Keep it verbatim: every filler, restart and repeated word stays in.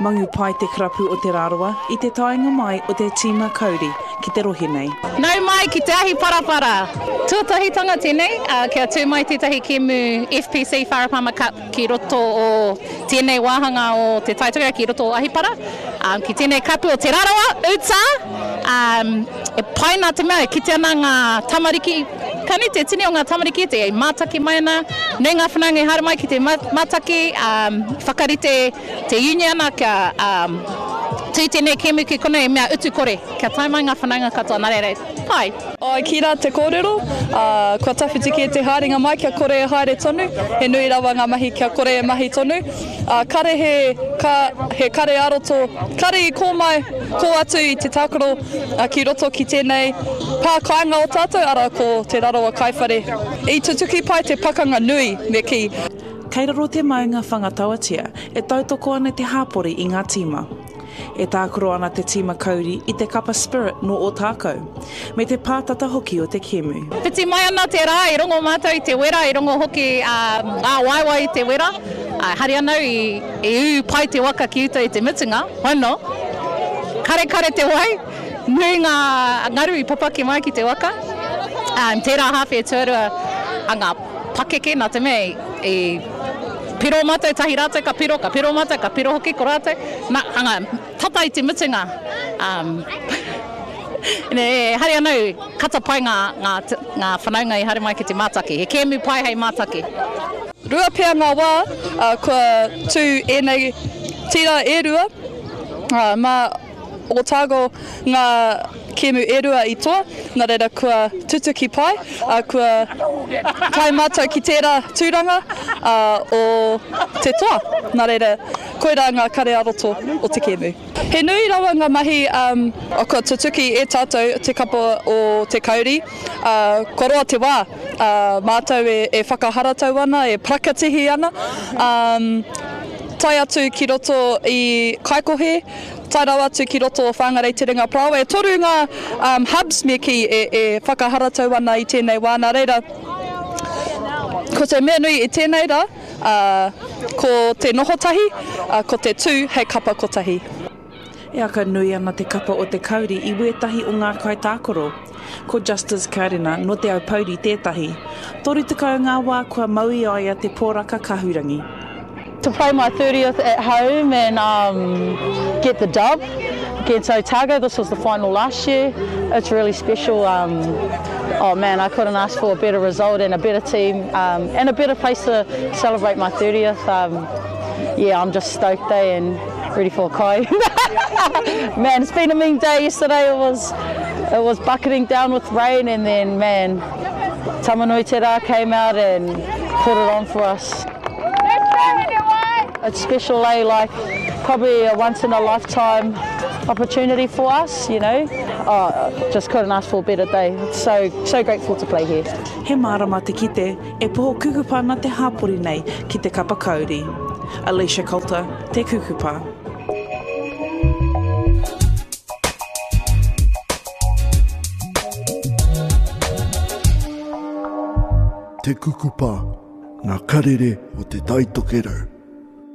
Mangu pai te karapu o Te Rarawa i te taenga mai o te tīma Kauri ki te rohe nei. Nau mai ki te ahi parapara. Tuatahitanga tēnei, uh, kia tū mai tētahi kēmu F P C Farah Palmer Cup ki roto o tēnei wāhanga o te Taitokerau, ki roto o Ahipara. Um, ki tēnei kapu o Te Rarawa, uta, um, e pai nā te mea, e kite ana ngā tamariki, ka nui te tini o ngā tamariki te mātaki mai ana, nui ngā whanaunga i haere mai ki te mātaki, um, whakarite te uniana kia um, tū tēnei kēmu ki konei mea utu kore, kia tae mai ngā whanaunga katoa, nā reira, pai. Ai ki rā te kōrero, uh, kua tawhiti kē te haerenga mai kia kore e haere tonu, he nui rawa ngā mahi kia kore e mahi tonu. Uh, kare he, ka, he kare aroto, kare i kō mai, kō atu i te tākaro uh, ki roto ki tēnei pā kāinga o tātou, ara ko Te Rarawa Kaiwhare. I tutuki pai te pakanga nui, me kī. Kei raro te maunga Whangatauatia e tautoko ana te hāpori i ngā tīma. E tākaro ana te tīma Kauri i te kapa Spirit no Ōtākou, me te pātata hoki o te kēmu. Whiti mai ana te rā, i rongo mātou i te wera, i rongo hoki uh, ngā waewae i te wera. Uh, hari anau i, i ū pai te waka ki uta i te mutunga, hono. Kare kare te wai, nui ngā ngaru i papaki mai ki te waka. Um, tērā hāwhe tuarua a ngā pakeke, nā te mea i, i piro mātou tahi rātou ka piro, ka piro mātou, ka piro hoki ko rātou. Nā, anga, tata i te mutunga. Um, e, hari anau, kata pai ngā, ngā, ngā whanaunga i haere mai ki te mātaki. He kēmu pai hei mātaki. Rua pea ngā wā, uh, kua tū ēnei tira e rua, uh, mā Otago ngā kēmu e rua i toa, nā reira kua tutuki pai, uh, kua tae mātou ki tērā tūranga uh, o te toa. Nā reira, koirā ngā kare aroto o te kēmu. He nui rawa ngā mahi um, kua tutuki e tātou te kapa o te Kauri. Uh, kua roa te wā, uh, mātou e, e whakaharatau ana, e prakatihi ana. Um, tae atu ki roto i Kaikohe, tae rawa atu ki roto o Whangarei Te Ringa Parāoa. E toru ngā um, hubs me kī e, e whakaharatau ana i tēnei wā. Nā reira, ko te mea nui i tēnei rā, uh, ko te noho tahi, uh, ko te tū hei kapa kotahi. E aka nui ana te kapa o te Kauri i wētahi o ngā kaitākaro. Ko Justice Karena no Te Aupouri tētahi. Toru tekau ngā wā kua mau i a ia te poraka kahurangi. To play my thirtieth at home and um, get the dub against Otago, this was the final last year. It's really special. Um, oh man, I couldn't ask for a better result and a better team um, and a better place to celebrate my thirtieth. Um, yeah, I'm just stoked eh, and ready for a kai. Man, it's been a mean day yesterday. It was, it was bucketing down with rain and then, man, Tamanuiterā came out and put it on for us. It's special, eh? Like probably a once in a lifetime opportunity for us, you know. Oh, just couldn't ask for a better day. So, so grateful to play here. He mārama te kite e poho kukupa ana te hāpori nei ki te kapa Kauri. Alicia Coulter, Te Kukupa. Te Kukupa, ngā karere o te Taitokerau.